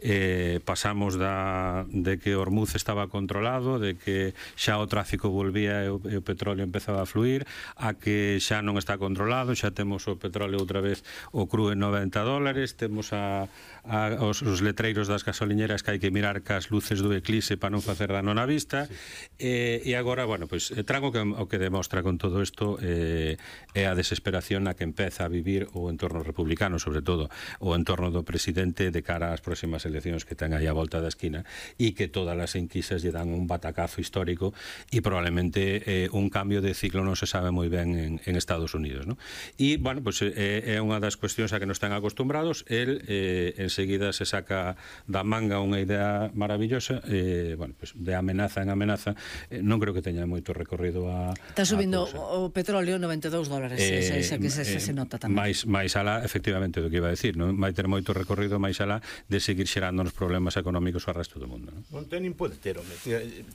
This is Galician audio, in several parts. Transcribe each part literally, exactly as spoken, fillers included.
eh, pasamos da, de que Hormuz estaba controlado, de que xa o tráfico volvía e o, e o petróleo empezaba a fluir, a que xa non está controlado, xa temos o petróleo outra vez o cru en noventa dólares, temos a, a, os, os letreiros das gasoliñeras que hai que mirar cas luces do eclipse para non facer dano na vista, sí. e, e agora, bueno, pois, pues, trago que, o que demostra con todo isto eh, é a desesperación na que empeza a vivir o entorno republicano, sobre todo o entorno do presidente de cara ás próximas eleccións que ten aí a volta da esquina, e que todas as enquisas lle dan un batacazo histórico e probablemente eh, un cambio de ciclo non se sabe moi ben en, en Estados Unidos, ¿no? E, bueno, pues, eh, é unha das cuestións a que nos están acostumbrados. El eh, enseguida se saca da manga unha idea maravillosa, eh, bueno, pues, de amenaza en amenaza. Eh, non creo que teña moito recorrido a... Está subindo o petróleo noventa e dous dólares, eh, esa, esa que se, eh, se nota tamén. Mais, mais alá, efectivamente, do que iba a decir, non vai ter moito recorrido máis alá de seguir xerando nos problemas económicos ao resto do mundo, non? Non ten nin pode ter, home.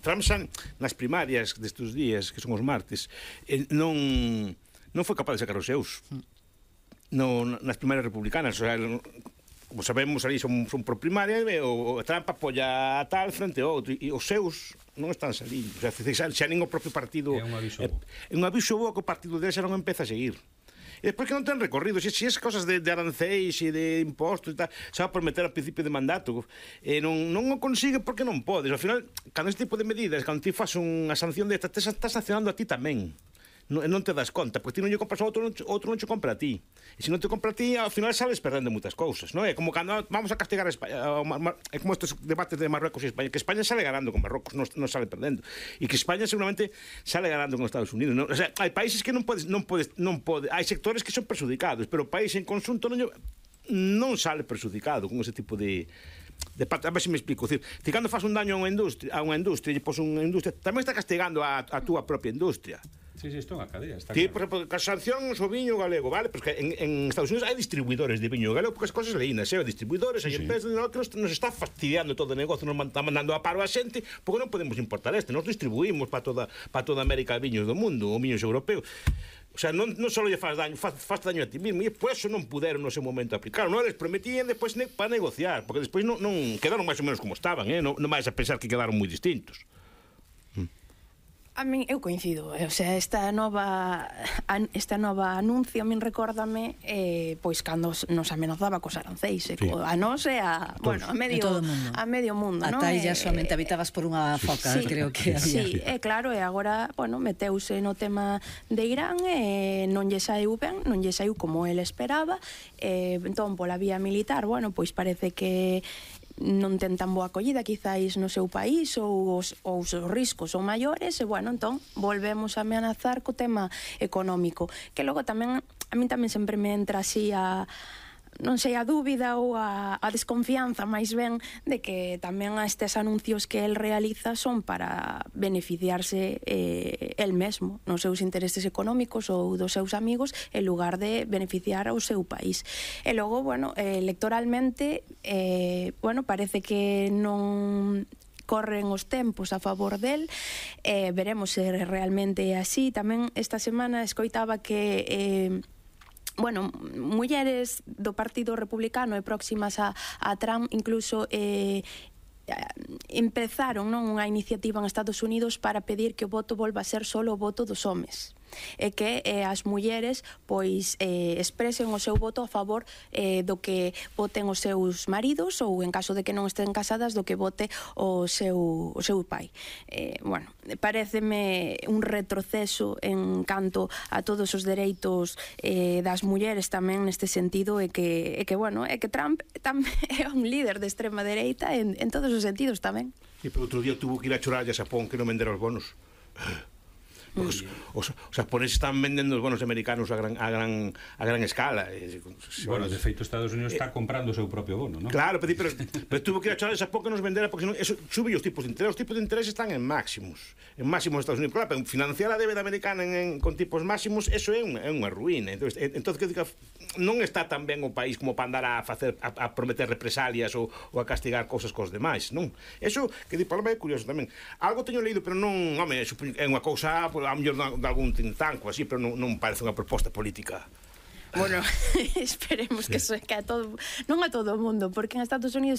Trump san, nas primarias destes días, que son os martes, eh, non non foi capaz de sacar os seus. No, nas primarias republicanas, o sea, como sabemos, ali son, son por primaria, e o, o Trump apoia a tal frente ao outro, e os seus non están salindo. O sea, xa, xa nin o propio partido... É un aviso bo. É un aviso bo que o partido dele xa non empeza a seguir. E despois que non ten recorrido, se, se as cosas de, de aranceis e de impostos e tal, xa va prometer ao principio de mandato, e non, non o consigue porque non podes. Ao final, cando este tipo de medidas, cando ti faz unha sanción de esta, te estás sancionando a ti tamén. Non, non te das conta, porque ti non lle compras a outro, outro non che compra a ti. E se non te compra a ti, ao final sales perdendo moitas cousas, non é? Como cando vamos a castigar a España, é como estes debates de Marruecos e España, que España sale ganando con Marruecos, non, non sale perdendo. E que España seguramente sale ganando con Estados Unidos, non? O sea, hai países que non podes, non podes, non pode, hai sectores que son perjudicados, pero o país en conxunto non, non sale perjudicado con ese tipo de... de parte, a ver se me explico, decir, ti cando faz un daño a unha industria, a unha industria, e pos unha industria, tamén está castigando a, a túa propia industria. Sí, sí, isto é unha cadea, está Ti, claro. por exemplo, que sancións o viño galego, vale? Porque en, en Estados Unidos hai distribuidores de viño galego, porque as cosas leínas, hai distribuidores, hai sí, empresas sí. que nos, nos está fastidiando todo o negocio, nos está mandando a paro a xente, porque non podemos importar este, nos distribuímos para toda, para toda América viños do mundo, ou viños europeos. O sea, non, non só lle faz daño, faz, faz daño a ti mismo, e por eso non puderon no seu momento aplicar. Non les prometían despois ne, para negociar, porque despois non, non quedaron máis ou menos como estaban, eh? non, non vais a pensar que quedaron moi distintos. A min, eu coincido, o sea, esta nova esta nova anuncio a min recórdame eh, pois cando nos amenazaba cos aranceis, sí. A nós e a, bueno, a medio a medio mundo, non? Ata aí xa somente habitabas por unha foca, sí, creo que había. Sí, é claro, e agora, bueno, meteuse no tema de Irán e non lle saiu ben, non lle saiu como ele esperaba, e entón pola vía militar, bueno, pois parece que non ten tan boa acollida quizáis no seu país, ou os, ou os riscos son maiores, e bueno, entón volvemos a amenazar co tema económico, que logo tamén a min tamén sempre me entra así a non sei, a dúbida ou a, a desconfianza máis ben de que tamén estes anuncios que el realiza son para beneficiarse eh, el mesmo nos seus intereses económicos ou dos seus amigos, en lugar de beneficiar ao seu país. E logo, bueno, eh, electoralmente eh, bueno, parece que non corren os tempos a favor del, eh, veremos se realmente é así. Tamén esta semana escoitaba que eh, bueno, mulleres do Partido Republicano e próximas a, a Trump incluso eh, empezaron, non, unha iniciativa en Estados Unidos para pedir que o voto volva a ser solo o voto dos homes, e que eh, as mulleres pois eh, expresen o seu voto a favor eh, do que voten os seus maridos, ou en caso de que non estén casadas, do que vote o seu, o seu pai. Eh, bueno, paréceme un retroceso en canto a todos os dereitos eh, das mulleres tamén neste sentido, e que, e que bueno, é que Trump tamén é un líder de extrema dereita en, en todos os sentidos tamén. E por outro día tuvo que ir a chorar a Xapón que non vendera os bonos. Os, os, os japoneses están vendendo os bonos americanos a gran, a gran, a gran escala. Bueno, de feito, Estados Unidos está comprando o seu propio bono, non? Claro, pero, pero, pero tuvo que ir a chorar a Xapón que nos vendera, porque senón, eso sube os tipos de interés. Os tipos de interés están en máximos. En máximos Estados Unidos. Claro, pero financiar a débeda americana en, en, con tipos máximos, eso é unha, é unha ruína. Entonces, entonces que diga, non está tan ben o país como para andar a facer a, a prometer represalias ou, ou a castigar cousas cos demais, non? Eso, que di Palma, é curioso tamén. Algo teño leído, pero non, home, é unha cousa, a mellor de algún tintanco así, pero non, non parece unha proposta política. Bueno, esperemos que, so, que a todo, non a todo o mundo, porque en Estados Unidos